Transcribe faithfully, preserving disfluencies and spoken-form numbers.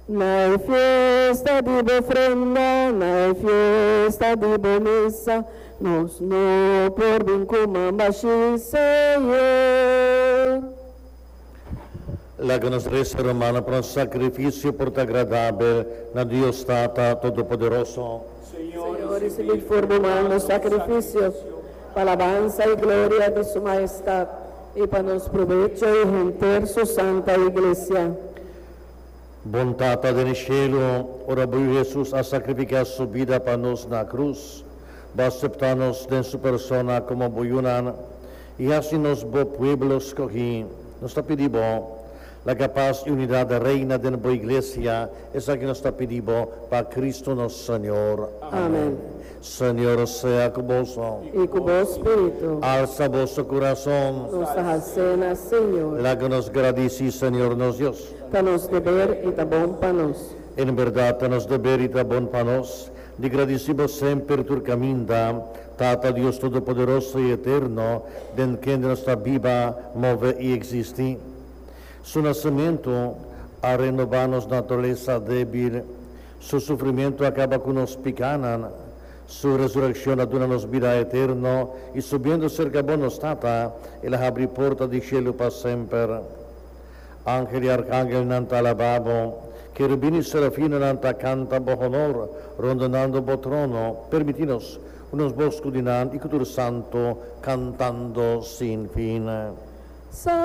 Na e fiesta di bo ofrenda, na e fiesta di bo mesa, nos no por bin ku man bashí, Señor. Laga nos resa, rumannan, pa nos sakrifisio por ta agradabel na Dios Tata Todopoderoso. Señor, risibí for di bo man nos sakrifisio, pa alabansa i gloria di su mahestat, i pa nos probecho i henter su santa iglesia. Bon Tata den shelu, ora bo Hesus a sakrifiká su bida pa nos na krus, Bo a aseptá nos den su persona komo bo yunan, i hasi nos bo pueblo skohí. Nos ta pidi Bo, laga pas i unidat reina den bo iglesia. Esaki nos ta pidi Bo pa Kristu nos Señor. Amèn. Señor sea ku boso. I ku bo spiritu. Alsa boso kurason. Nos ta hals'é na Señor. Laga nos gradisí Señor nos Dios. Ta nos deber i ta bon pa nos. En berdat, ta nos deber i ta bon pa nos, di gradisí Bo semper tur kaminda, Tata Dios Todopoderoso i Eterno, den kende nos ta biba, move i eksistí. Su nasementu a renobá nos naturalesa débil, su sufrimentu a kaba ku nos pikánan, su resurekshon a duna nos bida eterno, i subiendo serka Bo, nos Tata, el a habri porta di shelu pa semper. Angel i arkangelnan ta alabá Bo, kerubin i serafinonan ta kanta bo honor, rondonando bo trono. Permití nos uni nos bos ku di nan i ku tur santu, kantando sin fin. Santu.